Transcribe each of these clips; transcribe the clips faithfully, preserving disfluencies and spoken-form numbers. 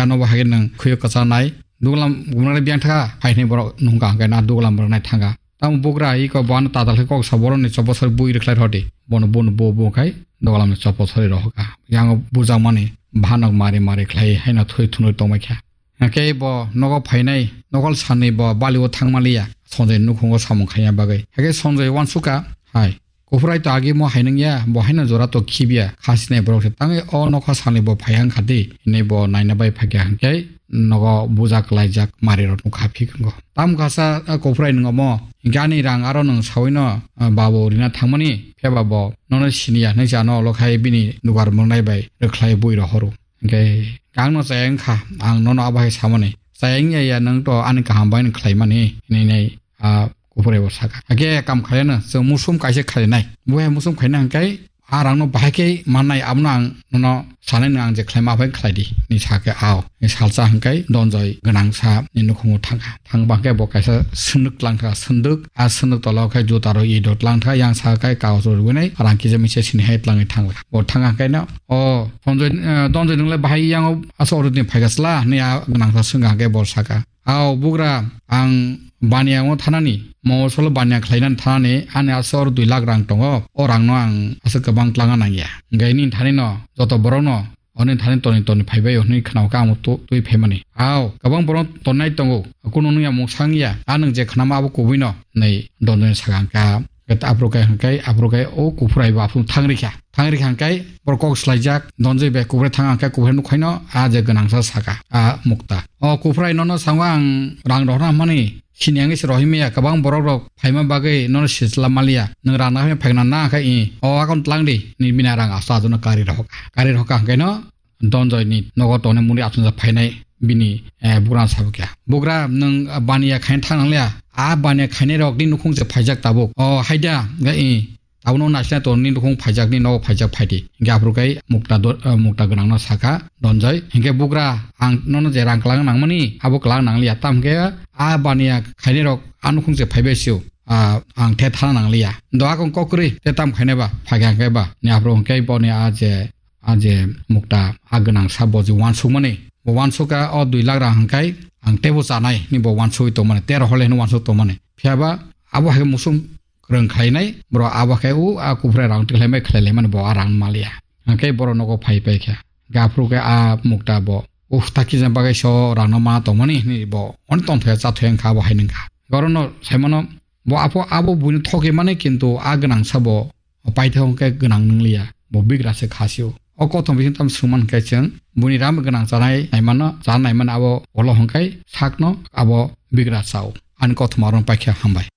Ano bo hai nang khuyo kwchanai. Duglam gumnani biyang thaka, hai hinwi borok nungka hwnkhe na duglam borok nai thanga. Tamo bugra iko bo ano tatal khe kok sa borok ni chopor sori bui rwkhlai rodi. Bono bono bo bo khai duglam ni chopor sori rohoka. Yango bujakmani bhanok mari mari khlai haino thwi thunwi tongmai kha. Hwnkhe bo nogo phainai, nokol sanwi bo bali o thangma liya. Sonjoi nukhungo samung khaina bagwi. Hwnkhe Sonjoi uansukha, hai. Kuphrai to agi mo hai nung ya, bo haino jora to khibiya, kha sinai borok se tangwi o nokha sani bo phai hang kha di, hinwi bo naina bai phai kha hwnkhe nogo buja kwlaijak mari rok nukha phikungo. Tam kasa a kuphrai nung omo, gani rang aro nung sawi no, a, babo rina thangmani, pheba bo nono siniya hinwi sa no olo khai bini dugar mwngnai bai rwkhlai bui rohoro. Hwnkhe ang no chaya wngkha, ang nono abo hai samani. Chaya wngya ya nung to ani kaham bai no khlaimani, hinwi nai a kuphrai bo saka. Hake kam khaiyano, chwng musum kaisa khainai. Bo hai musum khaina hwnkhe a rangno bahai khe mannai, abono ang nono sanai nung ang je khlaima aphai khlai di. Ni sake ao. Ni salsa hwnkhe Donjoi gwnang sa ni nukhungo thangkha. Thangba hwnkhe bo kaisa swndwk tlang kha, swndwk. A swndwk tola o khe juta rok i dot lang kha, yang sa khe kagoj rok rwinai rang kisa misa sini hai tlangwi thangkha. Bo thangkha hwnkhe no, o Donjoi, eh, Donjoi nungle bahai yango asa oro din phaikha chwla? Ni a gwnang sa swngkha hwnkhe bo saka. Ao bugra, ang baniya o thanani, mo solo baniya khlainani thanani, ani aswk oro dui lakh rang tongo, o rangno ang aswk kwbang tlangna nangya. Hwnkhe nini thani no joto borokno, oni thani toni toni phaibai hwnwi khwnao khe amo tu-, twi phaimani. Ao, kwbang borok tonnai tongo, kunu nungya mungsa wngya, a nwng je khnama abo kubuino, hwnwi Donjoi sakha hwnkha. Aphuru khe hwnkhe, aphuru khe o kuphrai bo aphuru thang rikha. Thang rikha hwnkhe borok kok swlaijak, Donjoi bai kuphrai thang hwnkhe kuphrai nukhaino a je gwnangsa saka, a Mukta. O kuphrai nono sango ang rang rohorna hwnmani, sini ang se rohoi maya, kwbang borok rok phaima bagwi nono sijla maliya. Nwng rang nahai phaikna na khe i, o akon tlang di, ni bini rang asto ajono kari rohok. Kari rohka hwnkhe no Donjoi ni nogo tongnai muri achomsa phainai bini, eh, bugra sabo khe. Bugra nwng baniya khaina thang nangliya, a baniya khainai rok ni nukhung se phaijak tabuk. O haida, ga i, Abono naisina tongni nukhung phaijakni nogo phaijak phaidi. Hingke aphuru kai mukta do-, eh, mukta gwnangno sakha Donjoi. Hingke bugra ang nono je rang kwlangna nangmani, abo kwlang nangliya. Tam hingke a baniya khainai rok a nukhung se phaibai sio. Ah, ang the thana nangliya. Do akong kokrwi te tam khainai ba, phaikha hingke ba. Ni aphuru hingke boni a je, a je mukta a gwnang sa bo je wansukmani. Bo wansukha o dui lakh rang hingkai ang tebo chanai ni bo wansugwi tongmani. Tero hole hino wansuk tongmani. Phiyaba abo hai musung kwrwng khlainai, borok abo khe o a kuphrai rang twi khlaimai khlai laimani bo a rang maliya. Hwnkhe borok nogo phai pai kha. Gaphuru khe a mukta bo, "Uf, ta kisa bagwi so rangno ma tongmani," hinwi bo oni tongthokya chathoya wngkha abo hai nungkha. Borokno saimano bo apho abo buino thokgwi mani, kintu a gwnangsa bo paithak hwnkhe gwnang nwngliya, bo bigra se kha sio. O kothoma bising tamo swngman khe chwng buini ram gwnang chanai naimano, cha naimano abo ulo hwnkhe sakno abo bigra chao. Ani kothoma oro paikha, hambai.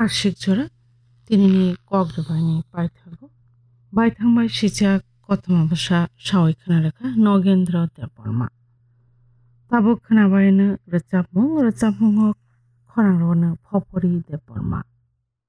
Ashik jora tinini kok rwbaini paithago baithang bai sijak kothoma bwsa sawi khna rwkha Nogendra Debbarma. Tabuk khna baino rwchapmung, rwchapmungo khorang rwno Phopori Debbarma.